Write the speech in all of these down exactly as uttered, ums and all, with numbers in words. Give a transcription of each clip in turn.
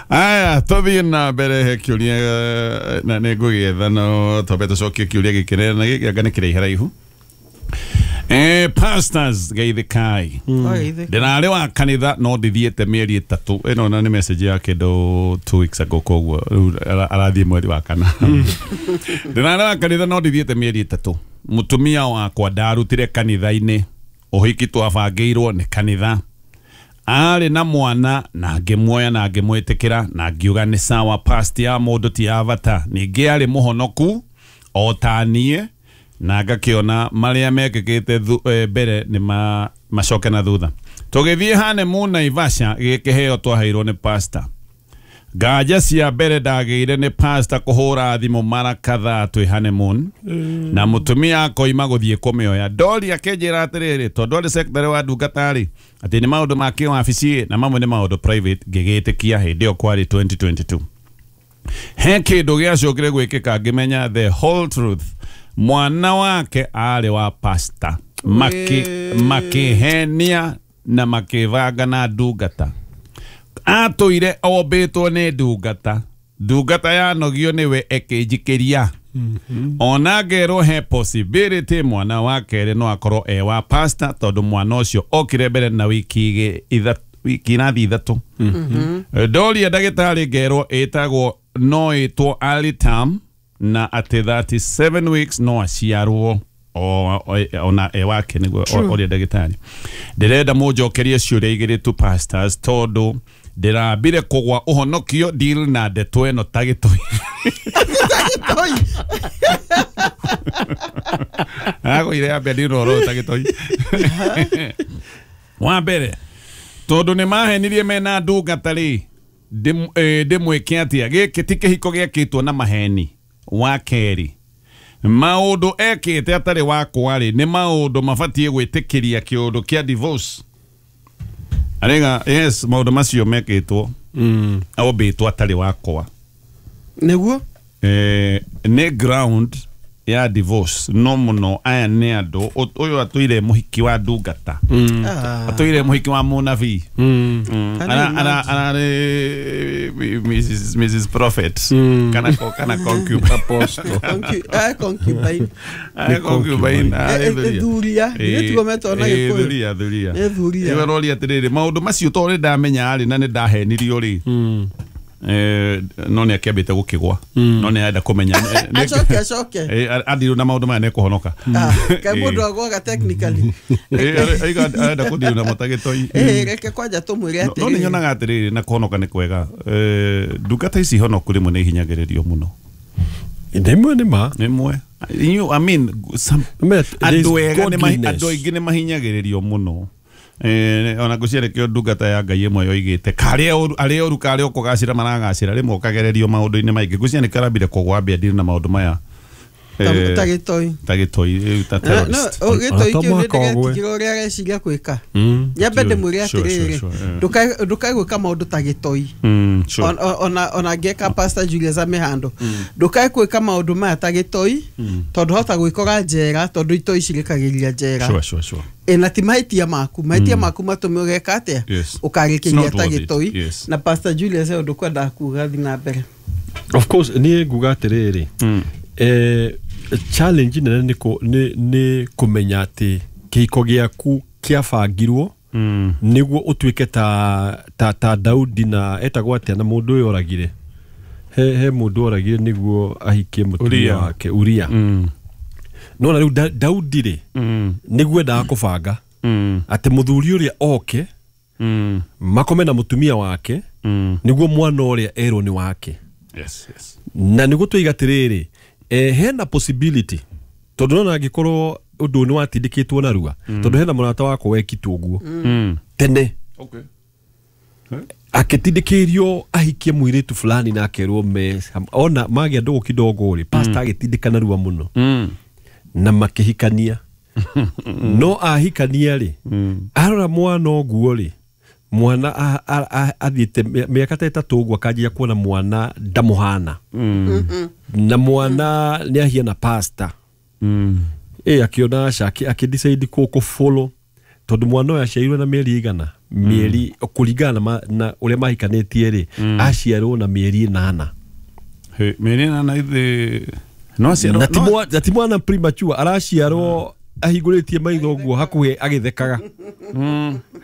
Aya, tũthiĩ na mbere he kĩũria na nĩ ngũgĩetha no twambe tũcokie kĩũria gĩkĩ na gĩkĩ anga nĩ kĩraiharaihu. Eh, pastors geithĩkai. Ndĩrarĩ wa kanitha no ndithiĩte mĩeri ĩtatũ. Ĩno na nĩ message ya kĩndũ two weeks ago koguo rĩu arathiĩ mweri wa kana. Ndĩrarĩ wa kanitha no ndithiĩte mĩeri ĩtatũ. Mũtumia wakwa ndarutire kanitha-inĩ. Ũhiki twabangĩirwo nĩ kanitha. Arĩ na mwana na ngĩmuoya na ngĩmwĩtĩkĩra na ngiuga nĩ sawa, past ya mũndũ ti ya bata. Ningĩ arĩ mũhonoku o ta niĩ na ngakĩona marĩa mekĩkĩte mbere nĩ ma, macoke na thutha. Tũgĩthiĩ honeymoon Naivasha, gĩkĩheo twaheirwo nĩ pastor. Nganja cia mbere ndagĩire nĩ pastor kũhũra thimũ mara kadhaa twĩ honeymoon mm. na mũtumia akoima gũthiĩ kũmĩoya. Ndori akĩnjĩra atĩrĩrĩ, tondũ arĩ secretary wa ndungata rĩ, atĩ nĩ maũndũ ma kĩwabici na mamwe nĩ maũndũ private, ngĩgĩtĩkia hĩndĩ ĩyo kwarĩ twenty twenty-two. He kĩndũ gĩacokire gwĩkĩka ngĩmenya the whole truth. Mwana wake arĩ wa pastor. Maki, makĩhenia na makĩbanga na ndungata. Atũire ombĩtwo nĩ ndungata. Ndungata yanogio nĩwe ĩkĩnjikĩria. Mm-hmm. Ona ngerwo he possibility mwana wa kerĩ no akorwo e wa pastor tondũ mwana ũcio okire mbere na wiki ithatũ, wiki inathi ithatũ. Mm-hmm. Ndoria ndagĩtarĩ ngerwo ĩtagwo no ĩtwo early term na atĩ thirty-seven weeks no aciarwo ona e wake nĩguo oria ndagĩtarĩ. Ndĩrenda mũnjokerie ciũria igĩrĩ tu pastors tondũ ndĩrambire kũgwa ũhonokio deal na ndeto ĩno ta gĩtoi. Gĩtoi. Agũire ambia deal ũhoro ta gĩtoi. Wa mbere tondũ nĩ mahenirie mena ndungata rĩ, ndĩmwĩke atĩa? Gĩkĩ ti kĩhiko gĩakĩtwo na maheni. Wa kerĩ, maũndũ ekĩte atarĩ wakwa rĩ, nĩ maũndũ mabatiĩ gwĩtĩkĩria kĩũndũ kĩa divorce. Arega, yes, maũndũ macio mekĩtwo mm. ombĩtwo atarĩ wakwa nĩguo eh, nĩ ground ya divorce. No mũno aya nĩ andũ ũyũ atũire mũhiki wa ndungata, mm. atũire mũhiki wa mũnabii, mm. mm. ara ara ararĩ Missus Missus Prophet, mm. kana kana concubine apostle ah concubine ah concubine thuria nĩ metwo na gĩkũyũ thuria thuria nĩ thuria ĩwe roria atĩrĩrĩ maũndũ macio to nĩ ndamenya rĩ na nĩ ndahenirio rĩ, eh no nĩ akĩambĩte gũkĩgwa, no nĩ arenda kũmenya acoke acoke eh athirwo na maũndũ maya nĩ kũhonoka kaĩ mũndũ agwaga technically eh aiga arenda kũthirwo na mũtagĩtoi eh reke kwanja tũmwĩre atĩrĩrĩ no nĩ nyonaga atĩrĩrĩ na kũhonoka nĩ kwega. Eh ndungata ici honoku rĩmwe nĩ ihinyagĩrĩrio mũno. Ndimwe nĩ ma nĩmwe you I mean some andũ ega nĩ andũ aingĩ nĩ mahinyagĩrĩrio mũno. Eh ona ngũciare ndungata ya Ngai ĩmwe yoigĩte karĩa arĩa ũru karĩa ũkũgacĩra maragacĩra rĩmwe ũkagererio maũndũ-inĩ maingĩ. Ngũciare karambire kũgwa mbia ndiri na maũndũ maya ta gĩtoi ta gĩtoi ta terrorist no gĩtoi kĩu nĩ ndĩgetigĩra ũrĩa areciria gwĩka. Nyambe ndĩmwĩre atĩrĩrĩ, ndũkae gwĩka maũndũ ta gĩtoi ona ona ngeka Pastor Julius Amehando, ndũkae gwĩka maũndũ maya ta gĩtoi tondũ hota gwĩkora njera tondũ itoi cirĩkagĩria njera. Ĩna ti mahĩtia maku, mahĩtia maku matũme ũgeka atĩa ũkarĩkĩria ta gĩtoi. Na Pastor Julius ũndũ kwendaga kuga thiĩ na mbere. Of course niĩ nguga atĩrĩrĩ, eh challenge nene nĩ nĩ nĩ kũmenya atĩ kĩhiko gĩaku kĩabangirwo nĩguo ũtuĩke ta ta ta Daudi na etagwo atĩa na mũndũ ũyũ oragire he he mũndũ oragire nĩguo ahikie mũtumia wake Uria. No na rĩu Daudi rĩ nĩguo endaga kũbanga atĩ mũthuri ũrĩa oke makome na mũtumia wake nĩguo mwana ũrĩa erwo nĩ wake. Yes, yes. Na nĩguo tũiga atĩrĩrĩ, eh hena possibility tondũ nona angĩkorwo ũndũ nĩ watindĩkĩtwo narua tondũ hena mũrata wakwa wekitwo ũguo tene, okay, akĩtindĩkĩrio ahikie mũirĩtu fulani na akerwo me ona magĩa ndũgũ kidogo rĩ, pastor agĩtindĩka narua mũno na makĩhikania. No ahikania rĩ, arora mwana ũguo rĩ, mwana athiĩte mĩaka ta ĩtatũ ũguo akanjia kuona mwana ndamũhana na mwana nĩ ahiana pastor. Ĩ akiona aca akĩ decide kũ follow tondũ mwana ũyũ aciarirwo na mĩeri igana mĩeri kũringana na, na ũrĩa mahikanĩtie rĩ aciarwo na mĩeri ĩnana. Mĩeri ĩnana ithe no aciarwo na ti mwana premature araciarwo ahingũrĩtie maitho ũguo hakuhĩ agĩthekaga.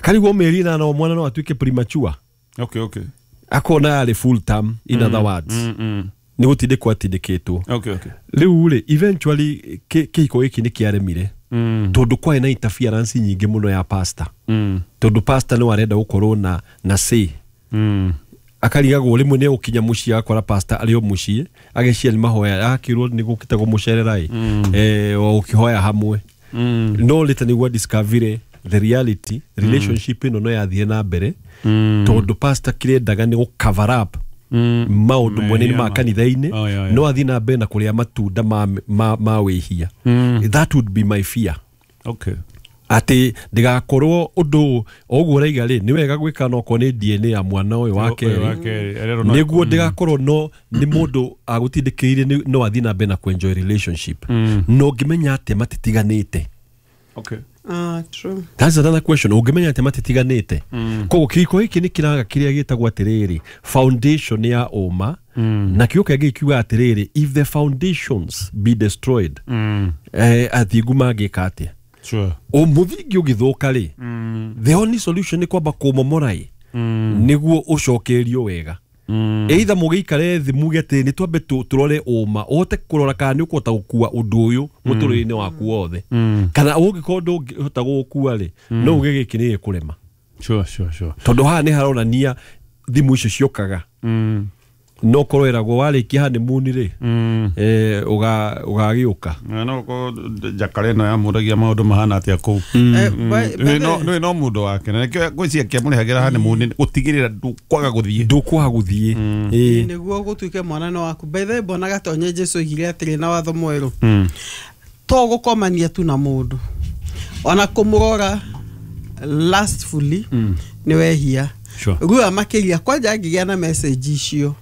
Karigwo mĩeri ĩnana o mwana no atuĩke premature. Okay, okay. Akona arĩ full term in other words. Nĩ gũtindĩkwo atindĩkĩtwo. Okay, okay. Rĩu rĩ eventually kĩhiko gĩkĩ nĩ kĩaremire tondũ kwarĩ na interference nyingĩ mũno ya pastor. Tondũ pastor nĩ arenda gũkorwo na na say. Akarigagwo rĩmwe nĩ gũkinya mũciĩ agakora pastor arĩ o mũciĩ agĩcia nĩ mahoya akĩrwo nĩ gũkĩte kũmũcerera ĩ eh o ũkĩhoya hamwe. No later nĩguo discover the reality relationship ĩno no yathire na mbere tondũ pastor kĩrendaga nĩ gũ cover up maũndũ mwene ma kanitha-inĩ no athiĩ na mbere na kũrĩa matunda ma ma, ma wĩhia. That would be my fear. Okay. Atĩ ndĩgakorwo ũndũ ũguo ũraiga rĩ nĩ wega gwĩka no okorwo nĩ D N A ya mwana ũyũ wa kerĩ nĩguo ndĩgakorwo no nĩ mũndũ agũtindĩkĩire no athiĩ na mbere na kũ-enjoy relationship. No ngĩmenya atĩ matitiganĩte. Okay. Ah, true. That's another question. Ũngĩmenya atĩ matitiganĩte. Koguo kĩhiko gĩkĩ nĩ kĩraga kĩrĩa gĩtagwo atĩrĩrĩ foundation ya ũma na kĩo kĩngĩ kiuga atĩrĩrĩ if the foundations be destroyed eh athingu mangĩka atĩa? Sure. O mũthingi ũgĩthũka rĩ the only solution nĩ kwamba kũmomora ĩ nĩguo ũcokerio wega. Either mũgĩikare thĩ muge atĩ nĩ twambe tũrore ũma ũhote kũrora kana nĩ ũkũhota gũkua ũndũ ũyũ mũtũrĩre-inĩ waku wothe kana ũngĩkorwo ndũngĩhota gũgũkua rĩ no uge gĩkĩ nĩ gĩkũrema. Sure, sure, sure. Tondũ haha nĩ haronania thimũ icio ciũkaga no korwo ĩragwo warĩkia honeymoon rĩ eh ũga ũgagĩũka no ko jakare no yamũragia maũndũ mahana atĩa kũu no no no mũndũ wake na nĩkĩo ngwĩciria kĩamũrĩhagĩra honeymoon gũtigĩrĩra ndũkwaga gũthiĩ ndũkwaga gũthiĩ ĩĩ nĩguo gũtuĩke mwana no waku. By the way mbonaga tonye Jesu oigire atĩrĩ na watho mwerũ to gũkomania tu na mũndũ ona kũmũrora lustfully nĩ wehia. Rua makĩria kwanja angĩgĩa na message icio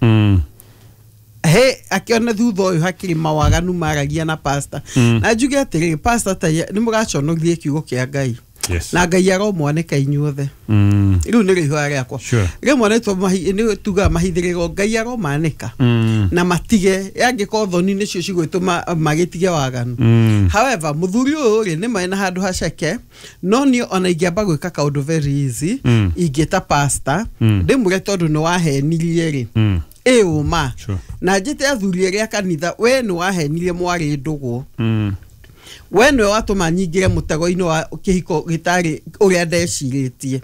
he akiona thutha ũyũ hakĩrĩ mawaganu maragia na pastor na njuge atĩrĩrĩ pastor ta nĩ mũgaconorithie kiugo kĩa Ngai. Yes. Na Ngai aromwanĩka inyuothe. Rĩu nĩ rĩhua rĩakwa rĩmwe nĩ tugaga mahithĩrĩro Ngai aromanĩka na matige angĩkorwo thoni nĩcio cigwĩtũma magĩtige waganu. However mũthuri ũyũ rĩ nĩ mena handũ haceke no niĩ ona ingĩamba gwĩka kaũndũ very easy ingĩta pastor ndĩmwĩre tondũ nĩ wahenirie rĩ ĩ ũma na njĩte athuri erĩ a kanitha we nĩ wahenirie mwarĩ ndũgũ we nĩwe watũma nyingĩre mũtego-inĩ wa kĩhiko gĩtarĩ ũrĩa ndecirĩtie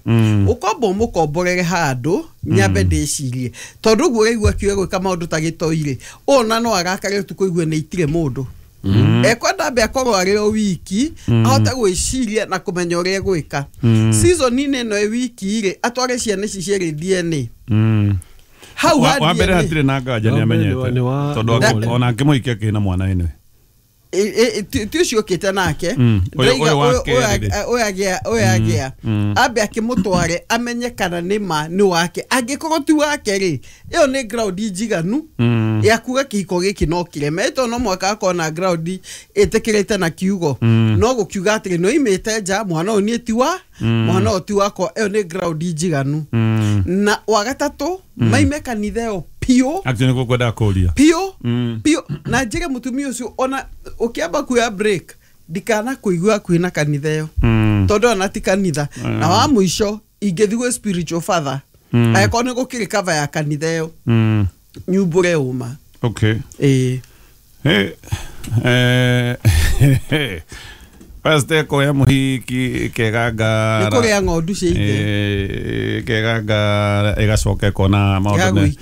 ũkomba ũmũkomborere handũ nyambe ndĩcirie tondũ ũguo ũraigua akiuga gwĩka maũndũ ta gĩtoi rĩ ona no arakare ũtukũ igue nĩ itire mũndũ ekwenda ambe akorwo arĩ o wiki ahote gwĩciria na kũmenya ũrĩa egwĩka. Season-inĩ ĩno ĩ wiki rĩ atware ciana ici cierĩ D N A hau wa mbere hatirĩ na nganja nĩ amenyete tondũ ona angĩmũhikia akĩrĩ na mwana ĩnwe ti ũcio ũkĩte nake ũyũ agĩa ambe akĩmũtware amenye kana nĩ ma nĩ wake angĩkorwo ti wake rĩ ĩyo nĩ ground njiganu ya kuga kĩhiko gĩkĩ no kĩreme tondũ no mũhaka akorwo na ground ĩtĩkĩrĩte na kiugo no gũkiuga atĩrĩ nĩ oimĩte nja mwana ũyũ niĩ ti wa mwana ũyũ ti wakwa ĩyo nĩ ground njiganu. Na wa gatatũ maime kanitha ĩyo piũ actually nĩkuo kwendaga kũria piũ piũ na njĩre mũtumia ũcio ona ũkĩamba kuoya break ndikana kũigua hakuhĩ na kanitha ĩyo tondũ ona ti kanitha. Na wa mũico ingĩthiĩ gwĩ spiritual father angĩkorwo nĩ gũkĩrĩ cover ya kanitha ĩyo nyumbũre ũma. Okay. Ĩĩ eh Pastor koya muhiki kegangara nĩ kũrĩa ng'ondu cia ithe kegangara ĩgacoka ĩkona maũndũ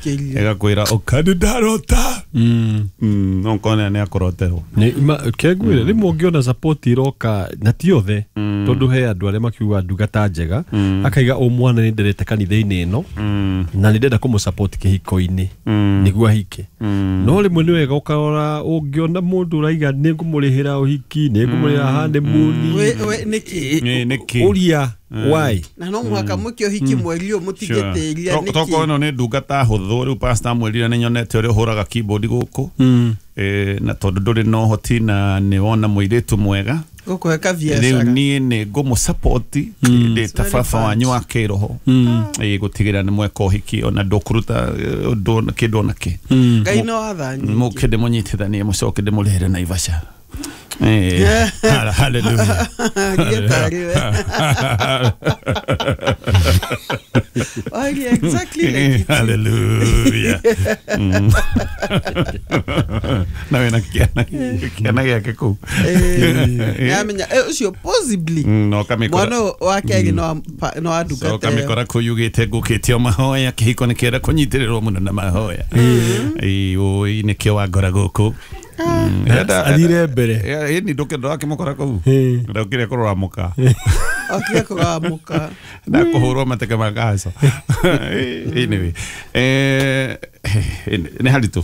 ĩgakwĩra ũka ndarota no nkone nĩ akũroterwo kengwĩre rĩmwe ũngĩona support iroka na ti othe tondũ he andũ arĩa makiuga ndungata njega akaiga o mwana nĩ nderete kanitha-inĩ ĩno na nĩ ndenda kũmũ-support kĩhiko-inĩ nĩguo ahike no rĩmwe nĩ wega ũkarora ũngĩona mũndũ ũraiga nĩ ngũmũrĩhĩra ũhiki nĩ ngũmũrĩhĩra honeymoon nĩkĩ ũria why na no mũhaka mwĩke ũhiki mweri ũyũ mũtigĩtĩria nĩkĩ tokorwo ĩno nĩ ndungata hũthũ rĩu pastor amwĩrire nĩ nyonete ũrĩa ũhũraga keyboard gũkũ na tondũ ndũrĩ na ũhoti na nĩ wona mũirĩtu mwega Gũkũhe kabiacara. Rĩu niĩ nĩ ngũmũ-support ndĩ ta baba wanyu wa kĩroho. Ĩĩ gũtigĩrĩra nĩ mweka ũhiki ona ndũkũruta ũndũ kĩndũ ona kĩ. Ngai no watha nyingĩ. Mũke ndĩmũnyitithanie mũcoke ndĩmũrĩhĩre Naivasha. Eh, hallelujah. Oh, yeah, exactly like it. Hallelujah. Na wena kiana kiana gĩake kũu. Nĩamenya ũcio possibly. No kamĩkora. Mwana wa kerĩ no no andungate. So kamĩkora kũu yugĩte ngũkĩte o mahoya kĩhiko nĩ kĩenda kũnyitĩrĩrwo mũno na mahoya. Ĩĩ ũĩ nĩkĩo wangora gũkũ. Athire mbere. Ĩĩ ni nduke ndakĩmũkora kũu. Ndokire kũrora mũka. Okire kũrora mũka. Na kũhũrwo mateke ma kahaca. Anyway, eh nĩ haritũ.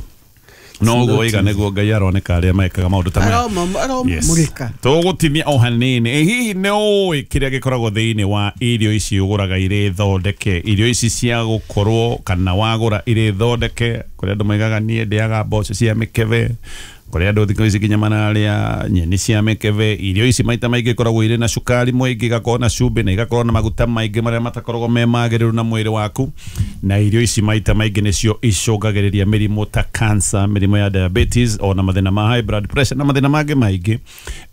No ũguo waiga nĩguo Ngai aroneka arĩa mekaga maũndũ ta maya. Aromũrĩka. Tũgũtimia o hanini. Ĩ hihi nĩ ũĩ kĩrĩa gĩkoragwo thĩinĩ wa irio ici ũgũraga irĩ thondeke, irio ici cia gũkorwo kana wagũra irĩ thondeke, kũrĩa andũ maigaga niĩ ndĩaga mboco cia mĩkebe, kũrĩa andũ thikũ ici nginya mararĩa nyeni cia mĩkebe. Irio ici maita maingĩ ikoragwo irĩ na cukari mũingĩ, igakorwo na cumbĩ na igakorwo na maguta maingĩ marĩa matakoragwo me magĩrĩru na mwĩrĩ waku. Na irio ici maita maingĩ nĩcio icũngagĩrĩria mĩrimũ ta cancer, mĩrimũ ya diabetes ona mathĩna ma high blood pressure na mathĩna mangĩ maingĩ.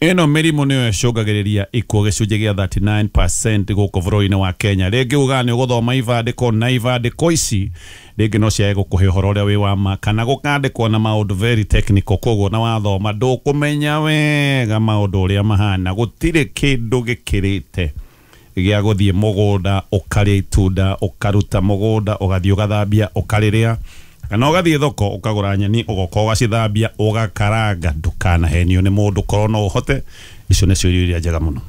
Ĩno mĩrimũ nĩyo ĩcũngagĩrĩria ikuũ gĩcunjĩ gĩa thirty-nine percent gũkũ bũrũri-inĩ wa Kenya. Rĩngĩ ugaga nĩ ũgũthoma ibandĩko na ibandĩko ici rĩngĩ no ciage gũkũhe ũhoro ũrĩa wĩ wa ma kana gũkandĩkwo na maũndũ very technical, koguo na wathoma ndũkũmenya wega maũndũ ũrĩa mahana. Gũtirĩ kĩndũ gĩkĩrĩte gĩa gũthiĩ mũgũnda ũkarĩa itunda, ũkaruta mũgũnda ũgathiĩ ũgathambia ũkarĩrĩa, kana ũgathiĩ thoko ũkagũra nyeni ũgoka ũgacithambia ũgakaranga. Ndũkanahenio nĩ mũndũ, korwo no ũhote. Icio nĩcio irio iria njega mũno.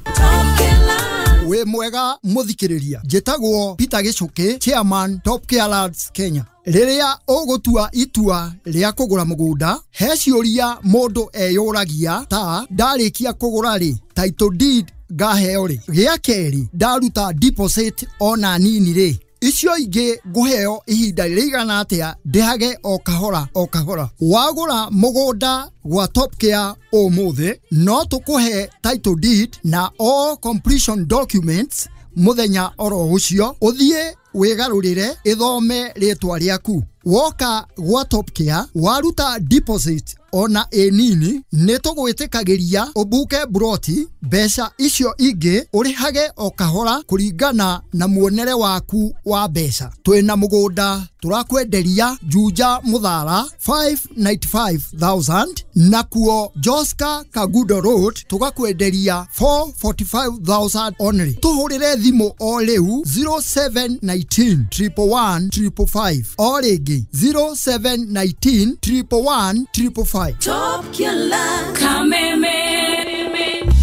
Wĩ mwega mũthikĩrĩria, njĩtagwo Peter Gĩcũkĩ, chairman Top Care Lads Kenya. Rĩrĩa ũgũtua itua rĩa kũgũra mũgũnda, he ciũria mũndũ eyũragia ta ndarĩkia kũgũra rĩ, title deed ngaheo rĩ, gĩa kerĩ ndaruta deposit ona nini rĩ, icio ingĩ ngũheo ihinda rĩigana atĩa ndĩhage o kahora o kahora. Wagũra mũgũnda gwa Top Care ũmũthĩ, no tũkũhe title deed na all completion documents mũthenya oro ũcio, ũthiĩ wĩgarũrĩre ĩthome rĩtwa rĩaku. Woka gwa Top Care waruta deposit ona ĩ nini, nĩ tũgwĩtĩkagĩria ũbuke buroti, mbeca icio ingĩ ũrĩhage o kahora kũringana na muonere waku wa mbeca. Twĩna mũgũnda tũrakwenderia Juja Mũthara five ninety-five thousand, nakuo Joska Kagudo Road tũgakwenderia four forty-five thousand only. Tũhũrĩre thimũ o rĩu zero seven nineteen triple one triple five, o rĩngĩ zero seven nineteen triple one triple five. Top Killer Kameme.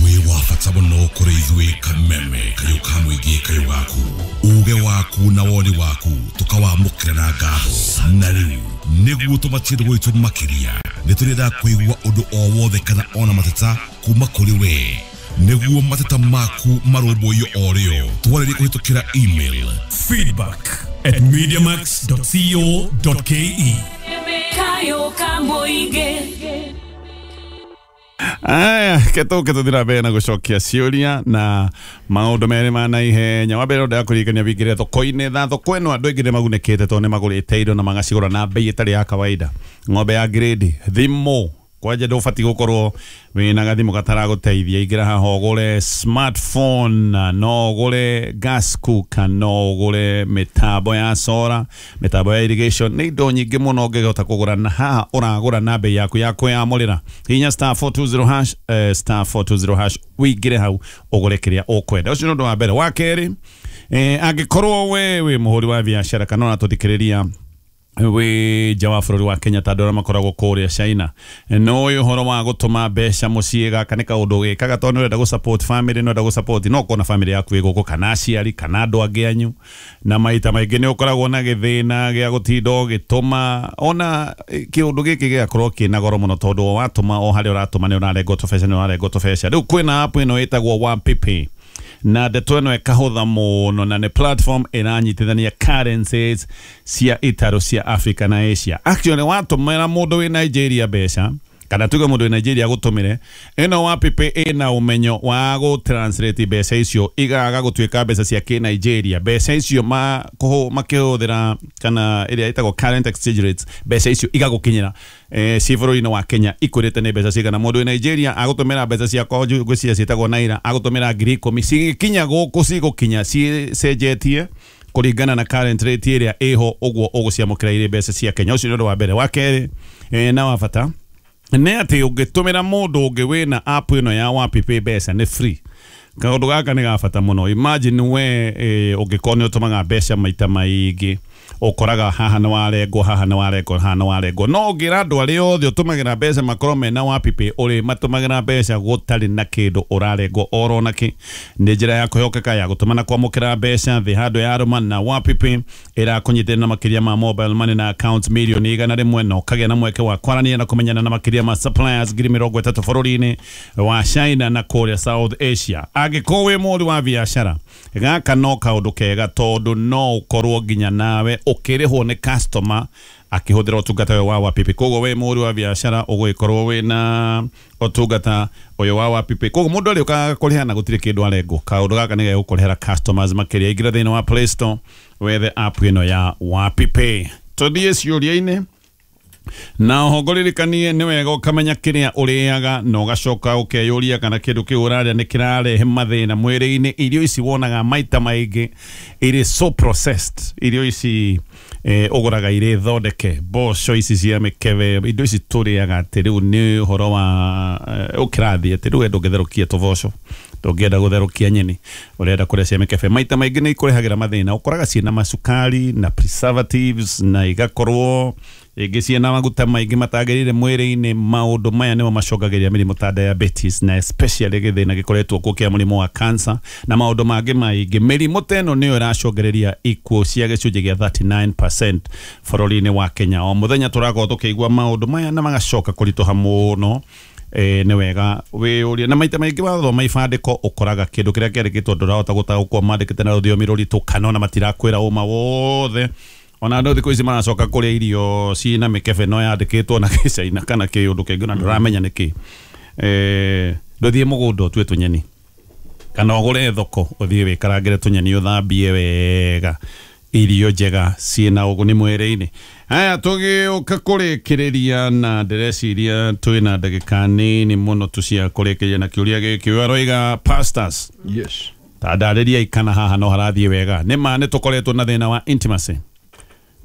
Wĩ wa bata mũno kũrĩ ithuĩ Kameme, kayũ ka mũingĩ kayũ gaku, uge waku na woni waku tũkawamũkĩra na ngatho. Na rĩu nĩguo tũmatie gwitũ makĩria, nĩ tũrenda kũigua ũndũ o wothe kana ona mateta kuma kũrĩ we, nĩguo mateta maku marũmbũiyo o rĩo. Twarĩrie kũhĩtũkĩra email feedback at mediamax dot co dot ke. Kayo ka mũingĩ. Aya, ketũke tũthira mbere na gũcokia ciũria na maũndũ merĩ ma naihenya. Wa mbere ndĩra kũririkania wingĩre thoko-inĩ, na thoko ĩno andũ aingĩ nĩ magunĩkĩte tondũ nĩ magũrĩte indo na magacigũra na bei ĩtarĩ ya kawaida. Ng'ombe ya grade, thimũ kwanja ndũbatiĩ gũkorwo wĩna gathimũ gataragũteithia. Ingĩra haha ũgũre smartphone, no ũgũre gas cooker, no ũgũre mĩtambo ya solar, mĩtambo ya irrigation, nĩ indo nyingĩ mũno ũngĩhota kũgũra, na haha ũragũra na bei yaku ya kwĩyamũrĩra. Hihinya star four two zero hash, eh, star four two zero hash, wĩingĩre hau ũgũre kĩrĩa ũkwenda. Ũcio nĩ ũndũ wa mbere. Wa kerĩ, eh, angĩkorwo we wĩ mũhũri wa biacara kana ũratũthikĩrĩria wĩ nja wa bũrũri wa Kenya ta andũ arĩa makoragwo kũrĩa China, no ũyũ ũhoro wa gũtũma mbeca mũciĩ, gaka nĩ kaũndũ wĩkaga tondũ nĩ ũrenda gũ support family, nĩ ũrenda gũ support, no ũkorwo na family yaku ĩ gũkũ kana aciari kana andũ angĩ anyu, na maita maingĩ nĩ ũkoragwo na gĩthĩna gĩa gũtinda ũgĩtũma. Ona kĩũndũ gĩkĩ gĩgakorwo kĩna goro mũno tondũ watũma o harĩa ũratũma nĩ ũrarengwo tũbeca, nĩ ũrarengwo tũbeca. Rĩu kwĩna app ĩno ĩtagwo Wampipi, na ndeto ĩno ĩkahũtha mũno, na nĩ platform ĩranyitithania currencies cia itarũ cia Africa na Asia. Actually watũmĩra mũndũ wĩ Nigeria mbeca, Kana tuge mũndũ wĩ Nigeria agũtũmĩre ĩno WapiPay ĩna ũmenyo wa gũ translate mbeca icio igaga gũtuĩka mbeca cia kĩ Nigeria. Mbeca icio ma makĩhũthĩra kana ĩrĩa ĩtagwo current exchange rates, mbeca icio igagũkinyĩra eh, ci bũrũri-inĩ wa Kenya ikũrĩte nĩ mbeca cigana. Mũndũ wĩ Nigeria agũtũmĩra mbeca ciakwa ngwĩciria ciĩtagwo naira, agũtũmĩra ngiri ikũmi, cigĩkinya gũkũ cigũkinya cicenjetie kũringana na current rate ĩrĩa ĩho, ũguo ũgũciamũkĩra irĩ mbeca cia Kenya. Ũcio nĩ ũndũ wa mbere. Wa kerĩ eh, na wa bata nĩ atĩ ũngĩtũmĩra mũndũ ũngĩ wĩna app ĩno ya WapiPay mbeca nĩ free. Kaũndũ gaka nĩ ga bata mũno. Imagine we eh, ũngĩkorwo nĩ ũtũmaga mbeca maita maingĩ, ũkoraga haha nĩ warengwo, haha nĩ warengwo, haha nĩ warengwo. No ũngĩra andũ arĩa othe ũtũmagĩra mbeca makorwo mena WapiPay, ũrĩ matũmagĩra mbeca gũtarĩ na kĩndũ ũrarengwo oro nakĩ. Nĩ njĩra ya kwĩhokeka ya gũtũma na kwamũkĩra mbeca thĩ handũ ya rũma, na WapiPay ĩrakũnyitĩrĩra na makĩria ma mobile money na accounts milioni igana rĩmwe, na ũkagĩa na mweke wa kwaranĩria na kũmenyana na makĩria ma suppliers ngiri mĩrongo ĩtatũ bũrũri-inĩ wa China na kũrĩa South Asia. Angĩkorwo wĩ mũhũri wa biacara, gaka no kaũndũ kega tondũ no ũkorwo nginya nawe ũkĩrĩhwo nĩ customer akĩhũthĩra ũtungata ũyũ wa WapiPay. Koguo wĩ mũhũri wa biacara ũgũgĩkorwo wĩna ũtungata ũyũ wa WapiPay. Koguo mũndũ arĩũkaga kũrĩha na gũtirĩ kĩndũ arengwo. Kaũndũ gaka nĩ gegũkũrehera customers makĩria. Ingĩra thĩinĩ wa Play Store wethe app ĩno ya WapiPay. Tũthiĩ ciũria-inĩ na oho ngũririkanie nĩ wega ũkamenya kĩrĩa ũrĩaga na ũgacoka ũkeyũria kana kĩndũ kĩu ũrarĩa nĩ kĩrarehe mathĩna mwĩrĩ-inĩ. Irio ici wonaga maita maingĩ irĩ so processed, irio ici eh, ũgũraga irĩ thondeke, mboco ici cia mĩkebe, indo ici tũrĩaga atĩ rĩu nĩ ũhoro wa eh, ũkĩrathiĩ atĩ rĩu we ndũngĩtherũkia tũboco, ndũngĩenda gũtherũkia nyeni, ũrenda kũrĩa cia mĩkebe. Maita maingĩ nĩ ikũrehagĩra mathĩna, ũkoraga ciĩna macukari na preservatives na igakorwo ĩngĩ ciĩna maguta maingĩ matagĩrĩire mwĩrĩ-inĩ. Maũndũ maya nĩmo macũngagĩrĩria mĩrimũ ta diabetes na especially gĩthĩna gĩkoretwo kuo kĩa mũrimũ wa cancer na maũndũ mangĩ maingĩ. Mĩrimũ ta ĩno nĩyo ĩracũngĩrĩria ikuũ cia gĩcunjĩ gĩa thirty-nine percent bũrũri-inĩ wa Kenya. O mũthenya tũrakorwo tũkĩigua maũndũ maya na magacoka kũritũha mũno. Eh, nĩ wega wĩyũrie, na maita maingĩ wathoma ibandĩko ũkoraga kĩndũ kĩrĩa kĩandĩkĩtwo ndũrahota gũtaũkwo, mandĩkĩte na rũthiomi rũritũ kana ona matirakwĩra ũma wothe. Ona andũ thikũ ici maracoka kũrĩa irio ciĩna mĩkebe no yandĩkĩtwo na gĩcaina kana kĩũndũ kĩngĩ na ndũramenya nĩkĩ. Eh, ndũthiĩ mũgũnda ũtue tũnyeni kana ũgũre thoko ũthiĩ wĩkarangĩre tũnyeni ũthambie wega, irio njega ciĩna ũguni mwĩrĩ-inĩ. Haya, tũgĩũka kũrĩkĩrĩria na ndĩreciria twĩna ndagĩka nini mũno tu cia kũrĩkĩrĩria na kĩũria gĩkĩ. Ũyũ aroiga pastors, yes, ta ndarĩriai kana haha no harathiĩ wega. Nĩ ma nĩ tũkoretwo na thĩna wa intimacy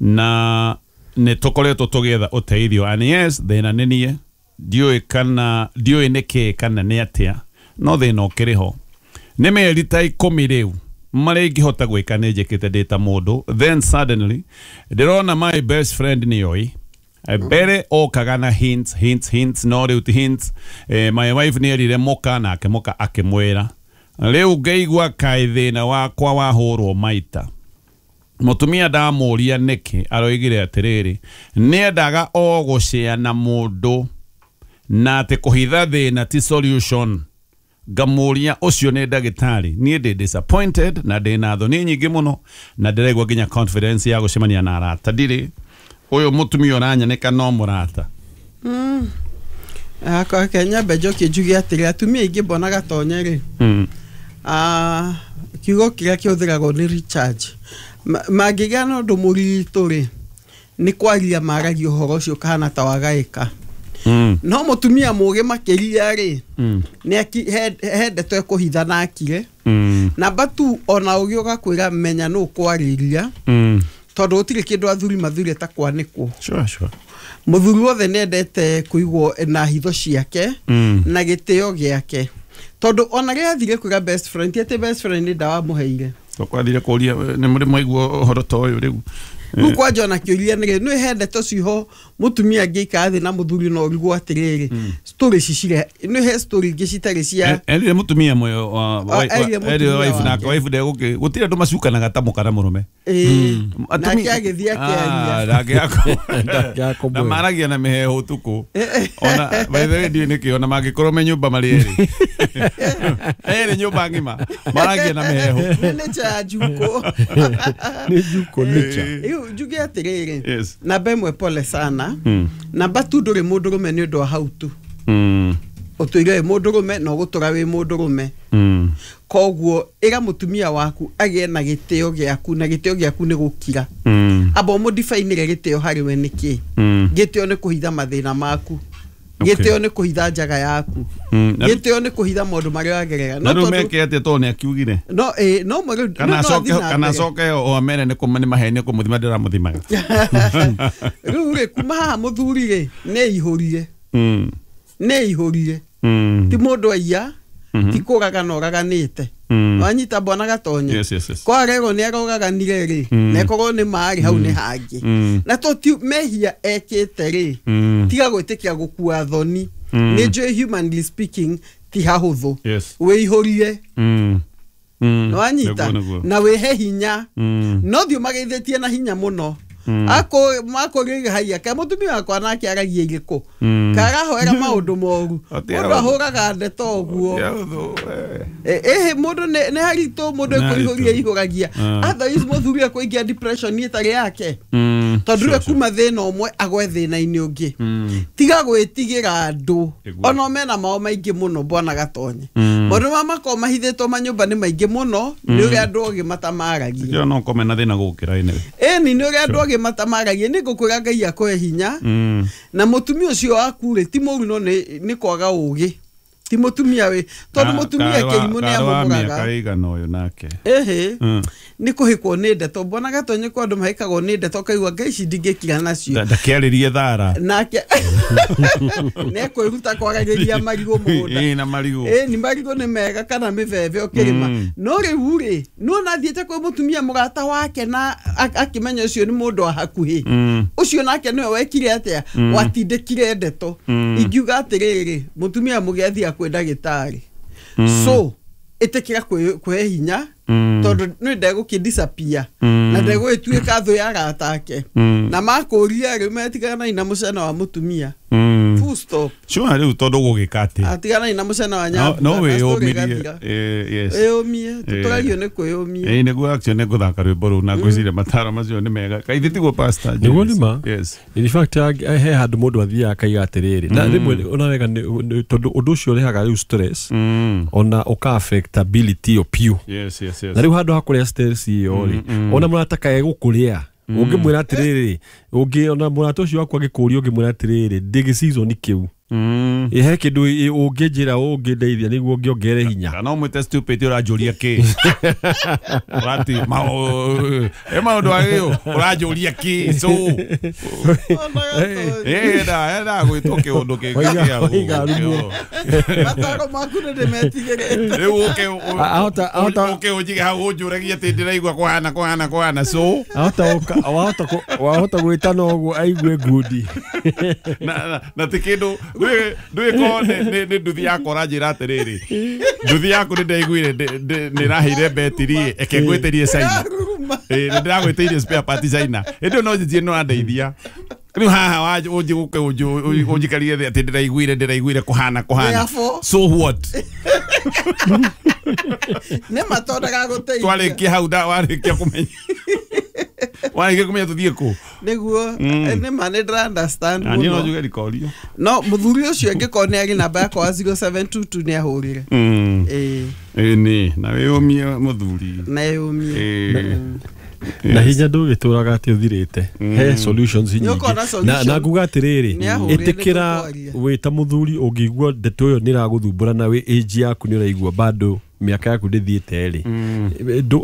na nĩ tũkoretwo tũgĩetha ũteithio, and yes, thĩna nĩ niĩ ndiũĩ kana ndiũĩ nĩkĩ kana nĩ atĩa, no thĩna ũkĩrĩ ho. Nĩ mĩeri ta ikũmi rĩu marĩa ingĩhota gwĩka nĩ njĩkĩte ndĩ ta mũndũ, then suddenly ndĩrona my best friend nĩoĩ mbere okaga na hints hints hints, no rĩu ti hints. Eh, my wife nĩ erire mũka nake mũka akĩmwĩra, rĩu ngaigua kaĩ thĩna wakwa wahũrwo maita. Mũtumia ndamũria nĩkĩ, aroigire atĩrĩrĩ nĩendaga o gũcea na mũndũ na atĩ kũhitha thĩna ti solution. Ngamũria ũcio nĩ ndagĩtarĩ. Niĩ ndĩ disappointed na ndĩ na thoni nyingĩ mũno na ndĩraigua nginya confidence ya gũcemania na arata ndirĩ. Ũyũ mũtumia ũranyanĩka no mũrata. Mm. Akwa nyambe njokie njuge atĩrĩ, atumia aingĩ mbonaga tonye rĩ, Mm. ah, kiugo kĩrĩa kĩhũthĩragwo nĩ recharge. Mangĩgĩa na ũndũ mũritũ rĩ, nĩ kwaria maragia ũhoro ũcio ũkahana ta wagaĩka. Mm. No mũtumia mũgĩ makĩria rĩ, Mm. nĩ he ndeto ekũhitha na akire. Mm. Namba tu ona ũgĩ ũgakwĩra menya nũ ũkwarĩria, Mm. tondũ gũtirĩ kĩndũ athuri mathurire ta kwanĩkwo. Sure, sure. Mũthuri wothe nĩendete kũigwo na hitho ciake Mm. na gĩtĩo gĩake, tondũ ona rĩrĩa athire kwĩra best friend, ti atĩ best friend nĩ ndawa amũheire. Twathire kũria nĩ mũrĩ mwaigua ũhoro ta ũyũ rĩu. Rĩu kwanja ona kĩũria nĩ nĩ he ndeto ciho mũtumia angĩikara thĩ na mũthuri no ũrigwo atĩrĩrĩ, story ici cire nĩ he story ingĩ citarĩ cia erire mũtumia mwe wa erire wife na wife ndegũkĩ gũtirĩ andũ macukanaga ta mũka na mũrũme. Nake agĩthiĩ akĩaria nake na maragia na mĩheehũ ũtukũ ona by the way ndiũĩ nĩkĩ ona mangĩkorwo me nyũmba marĩ erĩ erĩ nyũmba ng'ima maragia na mĩheehũ nĩ nature ya njukũ nĩ njukũ nature. Rĩu njuge atĩrĩrĩ namba ĩmwe pole sana namba tu ndũrĩ mũndũrũme nĩ ũndũ wa hau tu ũtũire wĩ mũndũrũme na ũgũtũra wĩ mũndũrũme koguo ĩra mũtumia waku agĩe na gĩtĩo gĩaku na gĩtĩo gĩaku nĩ gũkira amba ũmũdifainĩre gĩtĩo harĩ we nĩkĩ gĩtĩo nĩ kũhitha mathĩna maku gĩtĩo nĩ kũhitha njaga yaku gĩtĩo nĩ kũhitha maũndũ marĩa wagerera no rĩu meke atĩa tondũ nĩ akiugire no ĩ no mwe kana acoke kana acoke o amere nĩ kũma nĩ maheni kũmũthima ndĩramũthimaga rĩu rĩ kuma haha mũthuri rĩ nĩ ihũrire nĩ ihũrire ti mũndũ aiya ti kũragana ũraganĩte wanyita bwana Gatonye yes, yes, yes. Kwarerwo nĩ arogaganire rĩ na ĩkorwo nĩ marĩ hau nĩ hangĩ na to ti mehia ekĩte rĩ tiga gwĩtĩkia gũkua thoni nĩ njũĩ humanly speaking ti hahũthũ wĩihũrie wanyita na wĩhe hinya no thiĩ ũmageithĩtie na hinya mũno ako mako rĩ haiya ka mũtumia wakwa nake aragia irĩkũ karahoera maũndũ moru mũndũ ahũraga ndeto ũguo ĩhĩ mũndũ nĩ haritũ mũndũ ekũihũria ihũragia otherwise mũthuri ekũingĩa depression ĩtarĩ yake tondũ rĩu kuma thĩna ũmwe agwe thĩna-inĩ ũngĩ tiga gwĩtigĩra andũ ona mena mao maingĩ mũno bwana Gatonye maũndũ ma makorwo mahithĩtwo manyũmba nĩ maingĩ mũno nĩ ũrĩa andũ ogĩ matamaragia no kome na thĩna gũkĩra anyway ĩni nĩ ũrĩa andũ ogĩ matamaragia nĩ ngũkwĩra Ngai akũhe hinya na mũtumia ũcio waku rĩ ti mũru no nĩ kwaga ũgĩ ti mũtumia wĩ tondũ mũtumia kĩrimũ nĩ amũmũraga mĩaka ĩigana ũyũ nake ĩhĩ nĩ kũhĩkwo nĩ ndeto bwana Gatonye kwa andũ mahĩkagwo nĩ ndeto ũkaigua ngai ici ndingĩkira nacio ndakĩarĩrie thara nake nĩ ekwĩruta kwaragĩria marigũ mũgũnda ĩĩ na marigũ ĩĩ nĩ marigũ nĩ mega kana mĩbebe ũkĩrĩma no rĩu rĩ nĩwona athiĩte kwĩ mũtumia mũrata wake na akĩmenya ũcio nĩ mũndũ wa hakuhĩ ũcio nake nĩwe wekire atĩa watindĩkire ndeto ingiuga atĩrĩrĩ mũtumia mũgĩ athiĩ kwĩ ndagĩtarĩ so ĩtĩkĩra kwĩhe hinya tondũ nĩ ndegũkĩ disappear na ndegũgĩtuĩka thũ ya arata ake na makũria rĩu metiganai na mũcena wa mũtumia full stop sure rĩu tondũ ũgũgĩka atĩa atiganai na mũcena wa nyambu no wĩyũmĩrie yes wĩyũmie tũtũragio nĩ kwĩyũmia ĩĩ nĩguo actually nĩ ngũthaka rwĩmbo rũu na ngwĩciria mataro macio nĩ mega kaithĩ tiguo pastor nĩguo nĩ ma yes in fact he handũ mũndũ athiaga akaiga atĩrĩrĩ na rĩmwe ona wega tondũ ũndũ ũcio ũrehaga rĩu stress ona ũka affect ability ĩyo piũ yes yes yes na rĩu handũ ha kũrĩa stress ĩyo rĩ ona mũrata kae gũkũrĩa ũngĩmwĩra atĩrĩrĩ ũngĩ ona mũrata ũcio waku agĩkũria ũngĩmwĩra atĩrĩrĩ ndĩ season kĩu he kĩndũ ũngĩnjĩra ũngĩndeithia nĩguo ngĩongere hinya kana ũmwĩte stupid ũranjũria kĩ ũrati ĩ maũndũ agĩo ũranjũria kĩ so ĩ nda gwĩtwo kĩũndũ kĩngĩ mataro maku nĩ ndĩmetigĩrĩte rĩu ũke ũke ũnjige hau ũnjũragie atĩ ndĩraigua kũhana kũhana kũhana so wahota gwĩtana ũguo aigue ngundi na ti kĩndũ ndwĩko nĩ nduthi yakwa ũranjĩra atĩrĩrĩ nduthi yaku nĩ ndaiguire nĩ ĩraheire betiri eke ngwĩtĩrie China ĩ nĩ ndĩragwĩtĩirie spare part China ĩndĩ no njĩtie no andeithia rĩu haha ũnjĩ gũke ũnjikarie thĩ atĩ ndĩraiguire ndĩraiguire kũhana kũhana so what nĩ matondaga gũteithia twarĩkia hau warĩkia kũmenya warĩkia kũmenya tũthiĩ kũ nĩguo nĩ ma nĩ ndĩra understand mũno niĩ no njuge rikorio no mũthuri ũcio angĩkorwo nĩ arĩ namba yakwa wa zero seven two two nĩ ahũrire ĩĩ ĩĩ nĩ na wĩyũmie mũthuri na wĩyũmie na hinya ndũgĩtũraga atĩ ũthirĩte he solutions nyingĩ na na nguga atĩrĩrĩ ĩtĩkĩra wĩ ta mũthuri ũngĩigua ndeto ĩyo nĩ ĩragũthumbũra na wĩ age yaku nĩ ũraigua bado mĩaka yaku ndĩthiĩte rĩ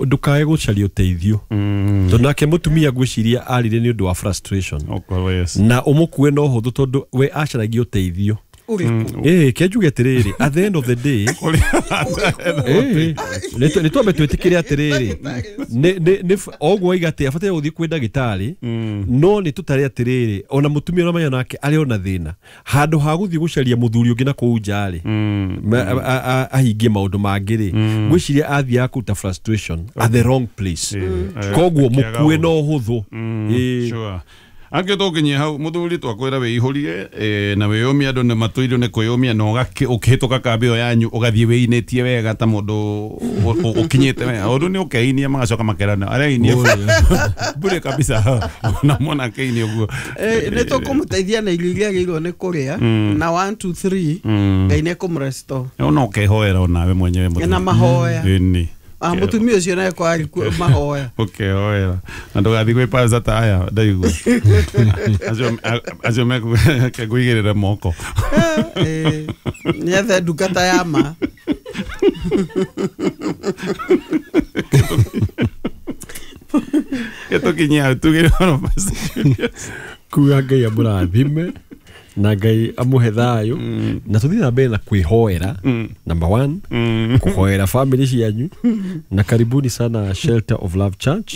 ndũkae gũcaria ũteithio tondũ nake mũtumia ngwĩciria arire nĩ ũndũ wa frustration na ũmũkue na ũhũthũ tondũ we acaragia ũteithio ĩĩ ke njuge atĩrĩrĩ at the end of the day nĩ twambe twĩtĩkĩre atĩrĩrĩ oguo waiga atĩ abataire gũthiĩ kwĩ ndagĩtarĩ no nĩ tũtare atĩrĩrĩ ona mũtumia ũramenya nake arĩ ona thĩna handũ ha gũthiĩ gũcaria mũthuri ũngĩ na kũu nja rĩ ahingie maũndũ mangĩ rĩ ngwĩciria athiaga kũruta frustration at the wrong place koguo mũkue na ũhũthũ. Angĩ tũkinyie hau mũthuri twakwĩra wĩihũrie eh, na wĩyũmie andũ nĩ matũirwo nĩ kwĩyũmia na ũgakĩ- ũkĩhĩtũka kambĩ ĩyo yanyu ũgathiĩ wĩinĩtie wega ta mũndũ ũ- ũ- ũkinyĩte wega ũndũ nĩ ũkeinia magacoka makerana areinie bure kabisa na mwana akeinia ũguo. Eh, nĩ tũkũmũteithia na irio iria agĩrĩirwo nĩ kũrĩa na one two three Ngai nĩ ekũmũrestore. Ona ũkehoera onawe mwenyewe mũthuri. Na mahoya. Ĩni. Ah, mũtumia ũcio naye kwa arĩ mahoya. Ũkehoera na ndũgathiĩ gwĩ pastor ta aya ndaigua acio acio mekũigĩrĩra moko. Eh, nĩ ethe ndungata ya ma. Gĩtũkinyie hau tugĩre ũhoro Pastor Julius. Kuga Ngai amũrathime na Ngai amũhe thayũ na tũthiĩ na mbere na kwĩhoera number one kũhoera family cianyu na karibuni sana Shelter of Love Church.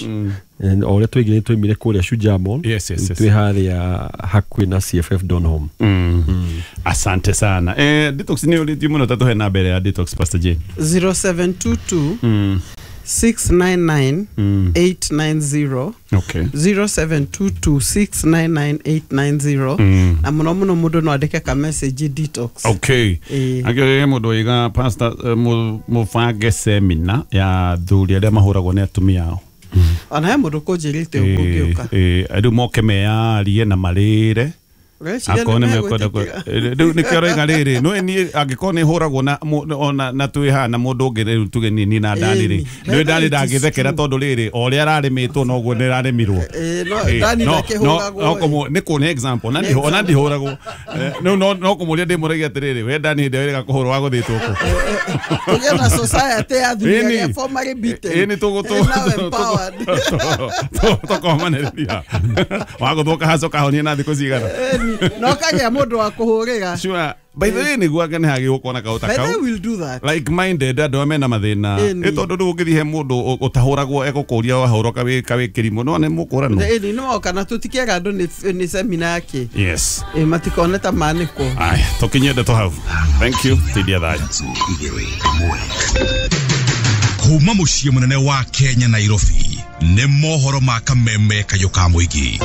And o ũrĩa twaigire twaimire kũrĩa Shujaa Mall. Yes, yes, yes. Twĩ harĩa hakuhĩ na C F F Donholm. Mm. Asante sana. Eh, detox nĩ ũrĩtie mũno ta tũhe na mbere ya detox Pastor Jane. zero seven two two Mm. six nine nine Mm. eight nine zero Okay. zero seven two two six nine nine eight nine zero Mm. na mũno mũno mũndũ no andĩke ka message detox. Okay. Ĩĩ. Angĩ mũndũ oiga pastor eh, mũ- mũbange semina ya thuri arĩa mahũragwo nĩ atumia ao. Ona he mũndũ kũnjĩrĩte ũguo ngĩũka. Eh, eh, rĩu moke meyarie na marĩre Ũreciria akorwo nĩ nĩ mekwenda kũ- megwĩtĩkĩra? Eh, rĩu nĩkĩo aroiga rĩrĩ no niĩ angĩkorwo nĩ hũragwo na mũ- ona na twĩ haha na mũndũ ũngĩ rĩu tuge niĩ niĩ na Dani rĩ Ĩni. nĩ Dani It is ndangĩthekera true. tondũ rĩrĩ o ũrĩa ararĩmĩtwo noguo nĩ ararĩmirwo. Ĩĩ, no Eh, Dani no- ndakĩhũragwo. no- no kũmũ- nĩ kũ nĩ example ona ndihũ- ona ndihũragwo. Eh, rĩu no no kũmũria ndĩmũragia atĩrĩrĩ we Dani hĩndĩ ĩrĩa wĩrĩga kũhũrwo wagũthĩtwo kũ? Tũgĩe na society ya athuri Ĩni. arĩa formerly beaten. Ĩni tũgũ- Eh, now empowered. tũkomanĩrĩria wagũthwo kahaco kahonie na thikũ cigana. Ĩni, no kagĩa mũndũ wa kũhũrĩra. Sure. By the way nĩguo anga nĩ hagĩ gũkorwo na kaũta By the way, kau we'll do that. like minded andũ arĩa mena mathĩna. Ĩni. Ĩ tondũ rĩu ũngĩthiĩ he mũndũ ũtahũragwo egũkũria wahũrwo kawĩ kawĩ kĩrimũ no nĩ mũkũranwo. Ĩni nĩ moka na tũtikĩaga andũ nĩ nĩ semina yake. Yes. Ĩ, matikone ta manĩkwo. Aya, tũkinyie ndeto hau. Thank you. Tindia thayũ. Kuma mũciĩ mũnene wa Kenya Nairobi nĩ mohoro ma kameme kayũ ka mũingĩ.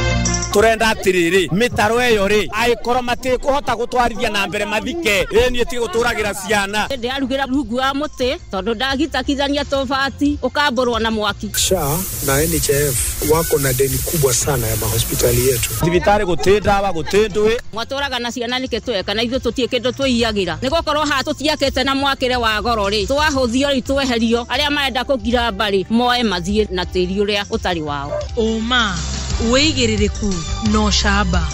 Turenda atiriri mitaro eyo ri aikorwo matikuhota gutwarithia na mbere mathike ĩ niĩ tige guturagira ciana Ndĩrarugira rungu wa mũtĩ tondũ ndagitakithania tobati ũkambũrwo na mwaki. S H A na N H I F wako na deni kubwa sana ya mahospitali yetu. Thibitari guti ndawa guti ndui mwatũraga na ciana nĩkĩ tweka na ithuĩ tũtirĩ kĩndũ twĩiyagĩra nĩ gũkorwo haha tũtiakĩte na mwakĩre wa goro rĩ twahũthio rĩ tweherio arĩa marenda kũgira mbarĩ moe mathiĩ na tĩri ũrĩa ũtarĩ wao. Ũma wĩigĩrĩrĩku no camba.